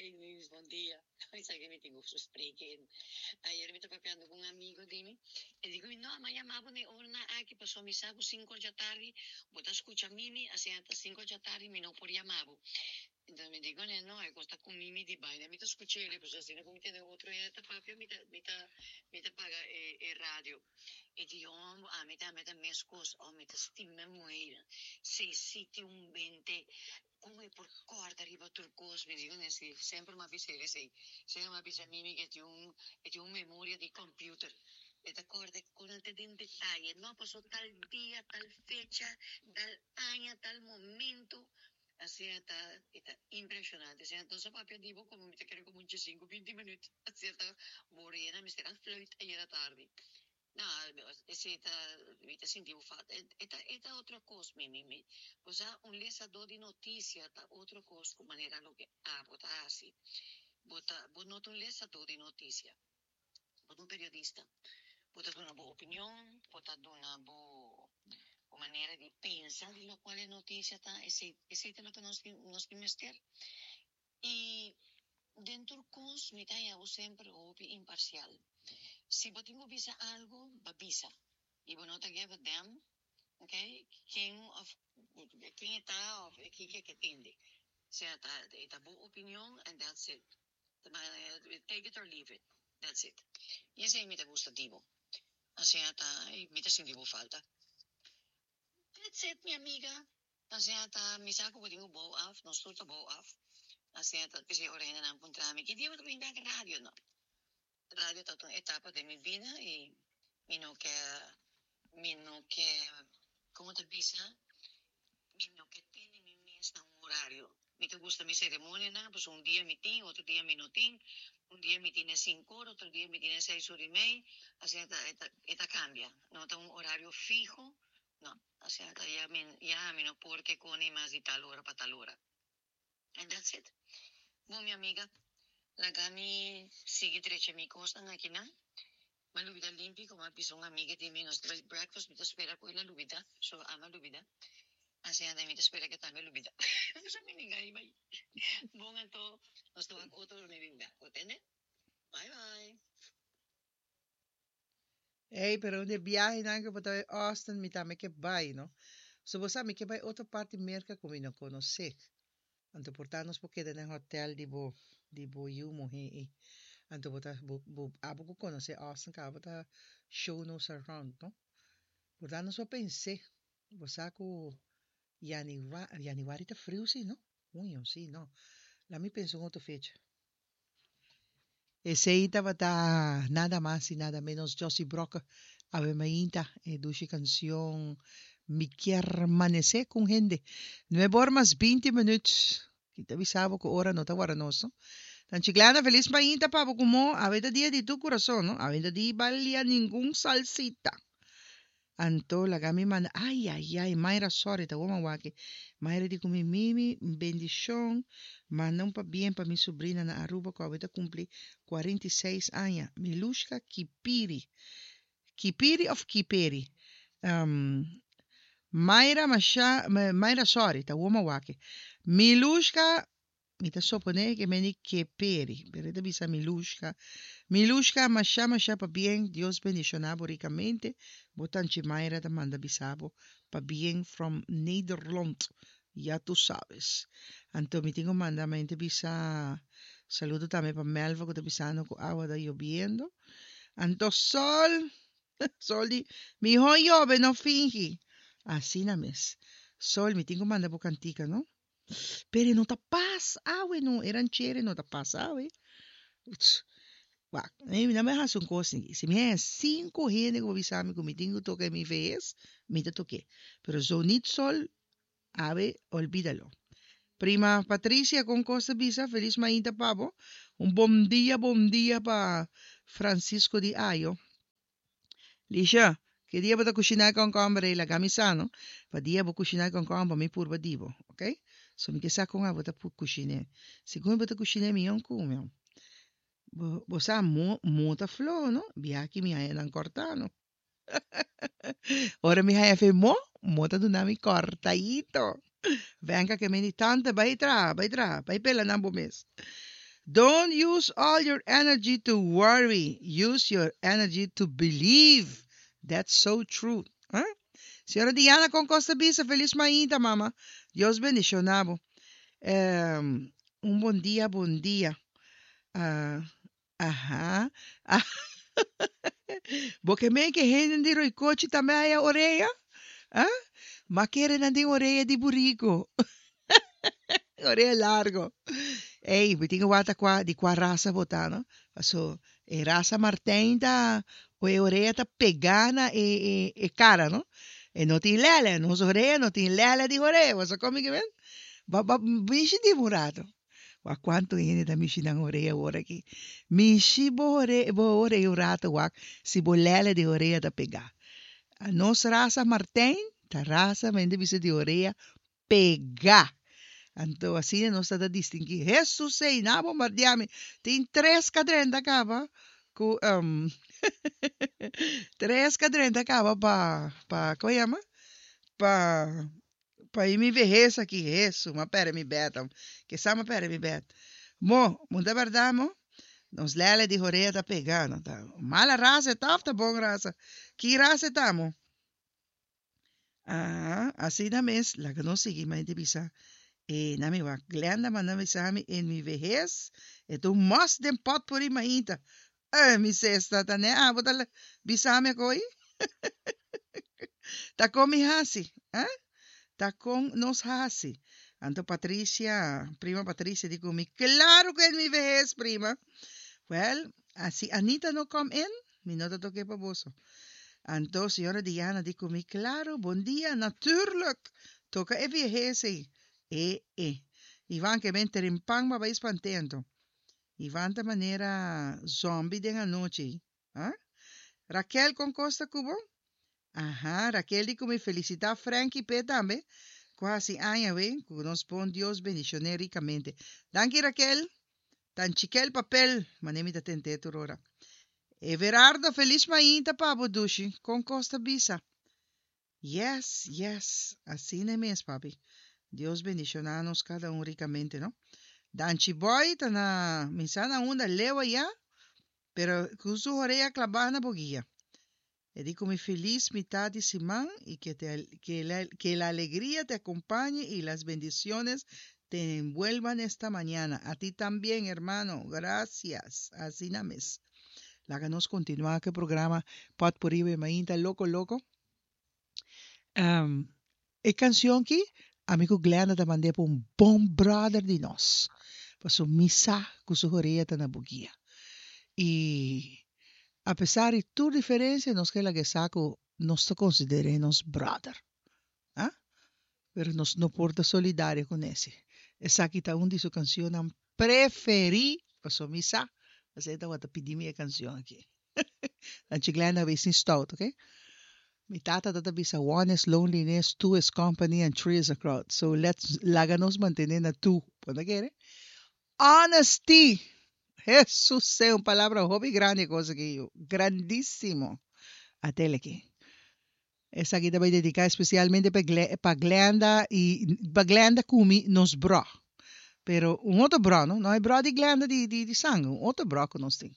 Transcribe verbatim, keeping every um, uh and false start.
Hey Luis, bon dia. Sabi mi tin gusto spreken. Ayera mi ta papiando ku un amigo di mi. E di no, m'a yama bo na ora aki paso mi sa ku sinku di atardi, bo ta skucha Mimi, asina ta sinku di atardi mi no por yama bo. Anto mi di no, e gusta ku Mimi di baina, mi ta skucha e, pues asina ku mi tin otro e ta papia, mi ta mi ta mi ta paga e, e radio. E di oh, ami ta mi ta meskos, oh, mi ta stima muhé. Sei siti un bente kon e por kòrda riba tur kos, mi di si semper m'a bisa esei. Semper m'a bisa Mimi ku tin un tin un memoria di computer. E ta kòrda ku den detaye, no pasó tal dia, tal fecha, tal aña, tal momento. Asina ta, ta impreshonante. Asina, anto, papia di bo komo mi ta kere komo un sinku, binti minüt. Asina ta morena, mi a fluit ayera tardi. No, esei ta, mi ta sinti falta. E ta, e ta otro kos, mi, mi, mi. Osea, un lesadó di notisia ta otro kos ku manera loke abo ta asina. Bo ta, bo no ta un lesadó di notisia. Bo ta un periodista. Bo ta duna bo opinion, bo ta duna bo bo manera di pensa di loke e notisia ta, esei, esei ta loke nos nos mester. I den kos mi ta semper hopi imparsial. Si bo tin ku bisa algu, bo bisa. I bo no ta give a damn, ok? Ken of ken ta of ken ke tende. Osea, ta, ta bo opinion and that's it. Take it or leave it. That's it. I esei mi ta gusta di bo. Osea, ta, mi ta sinti bo falta. That's it, mi amiga. Osea, ta, mi sa ku bo tin bouw af, nos tur ta bouw af. Osea, ta, kasi ora ainda nan puntra mi, ki dia bo ta bin radio, no? Radio ta un etapa di mi bida i mi no ke mi no ke kon ta bisa, mi no ke tene mi mes un orario. Mi ta gusta mi seremonia, no? Pues un dia mi tin, otro dia mi no tin, un dia mi tin sinku or, otro dia mi tin seis or i mei, asina ta, e ta kambia. No tin un orario fiho, no. Asina ta, ya mi, ya mi no por ke kone mas di tal ora pa tal ora. And that's it. Bon, mi amiga, laga mi sigui drecha mi kosnan aki, no? M'a lubidá limpi, komo a bisa un amiga di mi, nos breakfast, mi ta spera ku el a lubidá, so ami a lubidá. Asina, mi ta spera ku tambe lubidá. So mi ninguém bai. Bon, anto, nos ta otro mi bin back, entendé? Bye bye. Ei, pero un biahe nan ku bo ta Austin, mi tambe ke bai, no? So bo mi ke bai otro parti Merka ku mi no konosé. Anto por ta nos por keda den hotel di bo di bo yu muhé e. Anto bo ta bo bo abo ku konosé Austin ka bo ta show nos around, no? Por ta nos por pensa. Bo sa ku januari, januari ta friu si, no? Junio, si, no. Laga mi pensa un otro fecha. Esei tabata nada mas i nada menos Josie Brock. Ave mainta, e dushi kanshon Mi Kier Manesé ku Hende. Nuebe or mas binti minüt. Ki ta bisa bo ku ora no ta warda nos, no? Tanchi Glana, felis mainta pa bo komo awe ta dia di tu kurason, no? Awe ta di balia ningun salsita. Anto laga mi manda, ai ai ai, Mayra, sorry, ta goma waki. Mayra di ku mi Mimi, bendishon, manda un pabien pa mi sobrina na Aruba ku awe ta kumpli kuarenta i seis aña. Milushka Kipiri. Kipiri of Kiperi? Um, Mayra Masha, Mayra, sorry, ta goma waki. Milushka, mi ta suponé ku meni Keperi, pero ta bisa Milushka. Milushka, masha masha pabien, Dios bendishoná bo rikamente. Bo tanchi Mayra ta manda bisa bo pabien from Nederland. Ya tu sabes. Anto mi tin ku manda mente bisa saludo tambe pa Melva ku ta bisando ku awa ta yobiendo. Anto Sol, Sol di, mihó yobe no fingi. Asina mes. Sol, mi tin ku manda bo kantika, no? Pero no ta pas awe no, eran chere no ta pas awe. Wak, mi no me hasi un kos ni. Si mi haña sinku hende ku bisa mi ku mi tin ku toka mi vez, mi ta tok'é. Pero zo niet Sol, awe, olvídalo. Prima Patricia kon kos ta bisa, felis mainta pa bo. Un bon dia, bon dia pa Francisco di Ayo. Lisha, ki dia bo ta kushiná kònkòmber ei laga mi sa, no? Pa dia bo kushiná kònkòmber mi purba di bo, ok? So mi ke sa kon abo ta kushiná. Segun bo ta kushiná mi yon kume. Bo, bo sa mo, mo ta flo, no? Biaki mi haña nan kòrtá, no? Ora mi haña fe mo, mo ta duna mi kòrtadito. Venga que me di tante, bai tra, bai tra, bai pela nan bo mes. Don't use all your energy to worry. Use your energy to believe. That's so true. Huh? Señora Diana con Costa Bisa, felis mainta, mama. Dios bendishoná bo. Um, un bon dia, bon dia. Uh, aha. Ah. Bo ke men ku hende di Roycochi tambe haya orea? Ah? M'a kere nan tin orea di burico. Orea largo. Ei, mi tin ku wak kua di kua rasa bo ta, no? Paso, e rasa Martijn ta, o e orea ta pegá na e, e, e kara, no? E no tin lele, nos orea no tin lele di orea. Bo kon ke ben? Ba, ba, mishi di un rato. Wak kuantu hende ta mishi nan orea awor aki. Mishi bo orea, bo orea un rato wak, si bo lele di orea ta pegá. A nos rasa Martijn, ta rasa mende bisa di orea pegá. Anto, asina nos ta distinguí. Jesus sei, na bombardiami. Tin tres kadrenta kaba. Ku, um, tres kadrenta kaba pa, pa, kon yama? Pa, pa mi behes aki, Jesus, m'a pèrdè mi bèt. Ke sa m'a pèrdè mi bèt. Mo, mundo bèrdat, mo? Nos lele di orea ta pegando, ta. Mala rasa ta, ta bon rasa. Ki rasa ta, mo? Ah, asina mes, laga nos sigui, mas di bisa. E na mi wak, Glenda manda bisa mi en mi vejes, e tu mos den potpourri mainta. Eh, mi sesta, ta ne abo ta bisa mi koi. Ta kon mi hasi, eh? Ta kon nos hasi. Anto Patricia, prima Patricia, di ku mi, klaro ku en mi vejes, prima. Well, si Anita no come in, mi no ta tok'é pa boso. Anto, señora Diana, di ku mi, klaro, bon dia, natuurlijk. Toka e vejes ei. E, e. Ivan ke men trempan ma bai spantento. Ivan ta manera zombie den anochi. Ah? Raquel kon Costa Cubo? Aha, Raquel di ku mi felisitá Frankie P tambe. Kuasi aña we, ku nos bon Dios bendishoné rikamente. Danki Raquel. Tan chikel papel, manemi ta tente turora. Everardo, felis mainta pa bo dushi, kon Costa bisa. Yes, yes, asina mes, papi. Dios bendishoná nos kada un rikamente, no? Danchi boy, ta na misana unda lewa ya, pero ku su orea klabá na bo guia. E di ku mi felis mitar di siman i que, te, que, la, que la alegría te acompañe y las bendiciones te envuelvan esta mañana. A ti también, hermano. Gracias. Asina mes. Laga nos kontinuá ku e programa Potpourri Mainta Loko Loko. Um, e kanshon aki, ami ku Glenda ta mand'é pa un bon brother di nos. Paso mi sa ku su orea ta na bo guia. I apesar di tur diferensia, nos ke laga sa ku nos ta konsider'é nos brother. Ah? Pero nos no por ta solidario kuné. Esaki ta un di su kanshonnan preferí, paso mi sa, Bo ta pidi mi e kanshon aki. Anchi Glenda wees niet stout, oké? Mi tata ta bisa one is loneliness, two is company, and three is a crowd. So let's laga nos mantené na two. Bo ta kere? Honesty. Jesus ta un palabra hopi grandi kos aki. Grandísimo. At'é aki. Esaki ta bai dediká spesialmente pa pa Glenda i pa Glenda ku mi nos bro. Pero un otro bro, no? No e bro di Glenda di, di, di sanger, un otro bro ku nos tin.